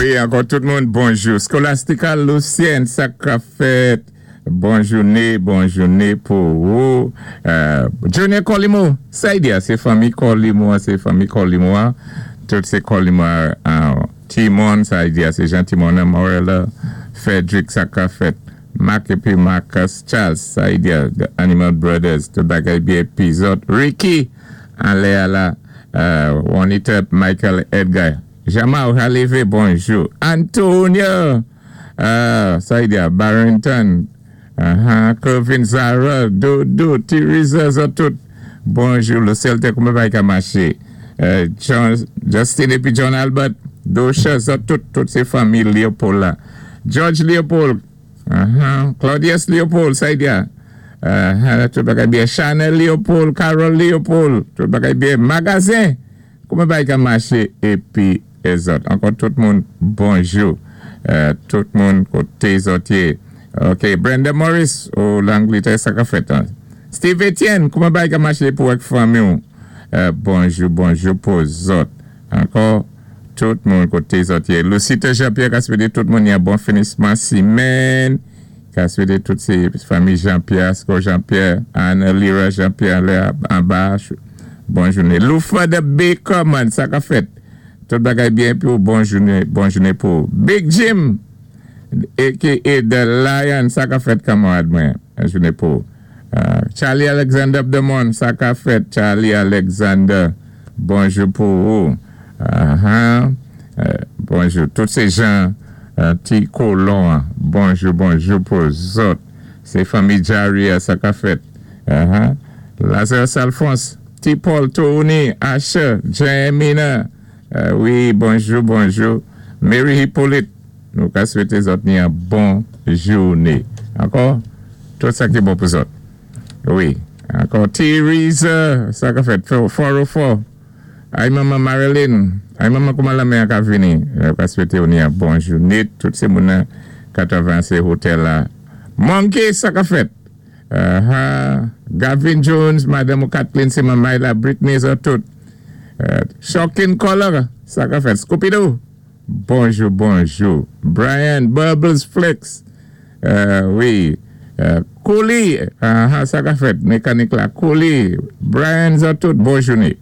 Wi, ankò tout moun, bonjou. Scholastica Lucien, sa ka fèt? Bon jouné, bon jouné pou ou. Junior Colimo, sa y di a, sé fanmi Colimo, sé fanmi Colimo, tout sé Colimo, Timon, sa y di a, sé Jean Timon, Morella, Frederick, sa ka fèt? Mark épi Marcus Charles, sa y di a, The Animal Brothers, tout bagay byen, épi zòt, Ricky, anlè a la, Juanita, Michael Edgar, Jamal Halivé, bonjou. Antonio, sa y di a, Barrington, Kelvin Zara, Dodo, Teresa, zòt tout. Bonjou, Lucille te kouman bagay ka maché. John, Justin épi John Albert, Dosha, zòt tout, tout sé fanmi Leopold la. George Leopold, Claudius Leopold, sa y di a. Tout bagay byen. Chanel Leopold, Carol Leopold, tout bagay byen. Magazen, kouman bagay ka maché épi zòt. Ankò tout moun, bonjou. Tout moun koté zòt yé. Ok, Brenda Morris, ou Langletè, sa ka fèt? Steve Etienne, kouman bagay ka maché pou ak fanmi ou? Bonjou, bonjou pou zòt. Ankò, tout moun koté zòt yé. Lucita Jean-Pierre ka swété tout moun yon bon finisman simenn. Ka swété tout sé fanmi Jean-Pierre, Asko Jean-Pierre, Anna Lira Jean-Pierre, lè anba, bon jouné. Loufa the Baker, man, sa ka fèt? Tout bagay byen pou bon jouné pou Big Jim, a.k.a. The Lion, sa ka fèt kanmarad mwen, jouné pou Charlie Alexander Abdemon, sa ka fèt, Charlie Alexander, bonjou pou ou. Bonjou, tout sé jan ti kolon, bonjou, bonjou pou zòt. Sé fanmi Jaria, sa ka fèt? Lazarus Alphonse, T. Paul Tony, Asher, Jamina, wi, bonjou, bonjou. Mary Hippolyte, nou ka swété zòt ni yon bon jouné. Ankò, tout sa ki bon pou zòt. Wi, ankò Theresa, sa ka fèt? 404. Ay manman Marilyn, ay manman kouman lanmè a ka vini? Nou ka swété ou ni yon bon jouné. Tout sé moun nan 80 sé hotel la. Monkey, sa ka fèt? Gavin Jones, madanm ou Kathleen, sé manmay la, Britney, zòt tout. Shocking Color, sa ka fèt? Scooby-Doo, bonjou, bonjou. Brian, Bubbles Flex, wi. Kouli, sa ka fèt? Mekanik la, Kouli, Brian, zòt tout, bon jouné.